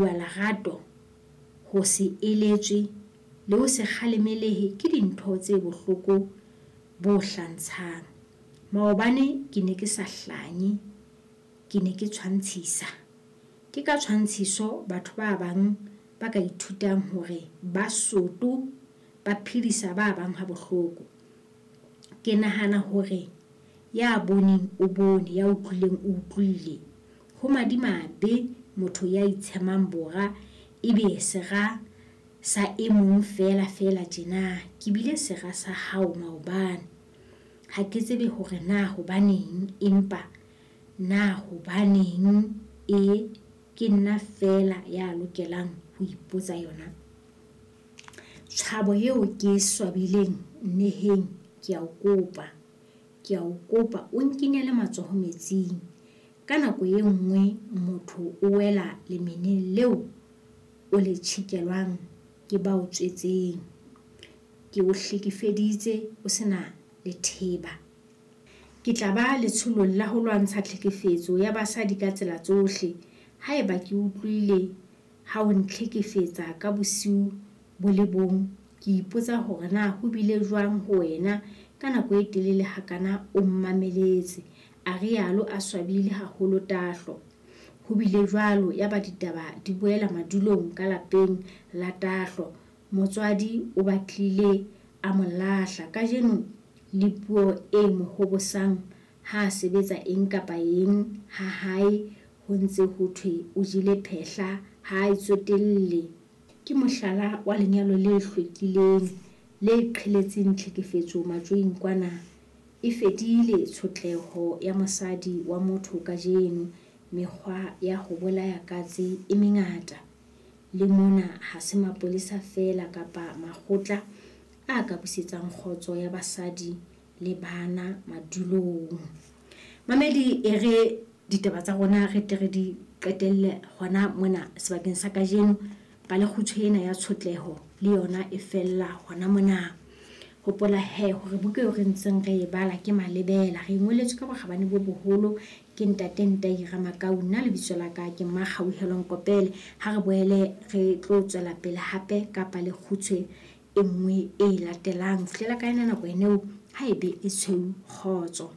bua lerato, ho se eletswe le ho se kgalemelehe ke dintho tse bohloko bo hlantshang. Maobane ke ne ke sa hlanye, ke ne ke tshwantshisa. Ke ka tshwantshiso batho ba bang ba ka ithutang hore ba soto ba phedisa ba bang ha bohloko. Ke nahana hore ya boneng o bone, ya utlwileng o utlwile. Ho madimabe motho ya itshemang bora ebe sera sa e mong feela feela tjena. Ke bile sera sa hao maobane. Ha ke tsebe hore na hobaneng, empa na hobaneng e ke nna feela ya lokelang ho ipotsa yona. Tshabo eo ke e swabileng nneheng, ke a o kopa. Ke a o kopa o nkenyele matsoho metsing. Ka nako e nngwe motho o wela lemeneng leo o le tjhekelwang ke ba o tswetseng. Ke o hlekefeditse o sena letheba. Ke tla ba letsholong la ho lwantsha tlhekefetso ya basadi ka tsela tsohle. Haeba ke utlwile ha o ntlhekefetsa ka bosiu bo le bong, ke ipotsa hore na ho bile jwang ho wena ka nako e telele hakana o mmameletse, a rialo a swabile haholo Tahlo. Ho bile jwalo yaba ditaba di boela madulong ka lapeng la Tahlo. Motswadi o batlile a mo lahla. Kajeno le puo e mo hobosang ha a sebetsa eng kapa eng ha hae ho ntse ho thwe o jele phehla ha a itsotelle. Ke mohlala wa lenyalo le hlwekileng le qheletseng tlhekefetso matjoing kwana. E fedile tshotleho ya mosadi wa motho kajeno. Mekgwa ya ho bolaya katse e mengata. Le mona ha se mapolesa feela kapa makgotla a ka busetsang kgotso ya basadi le bana madulong. Mamedi e re ditaba tsa rona re tle re di qetelle hona mona sebakeng sa kajeno. Palekgutshwe ena ya tshotleho le yona e fella hona mona. Hopola he hore buka eo re ntseng re e bala ke Malebela. Re e ngoletswe ka bokgabane bo boholo ke ntate Ntai Ramakau. Nna lebitso la ka ke Mmakgauhelo Nkopele. Ha re boele re tlo tswela pele hape ka palekgutshwe e nngwe e latelang. Fihlela ka yona nako eneo, ha ebe e tshweu kgotso.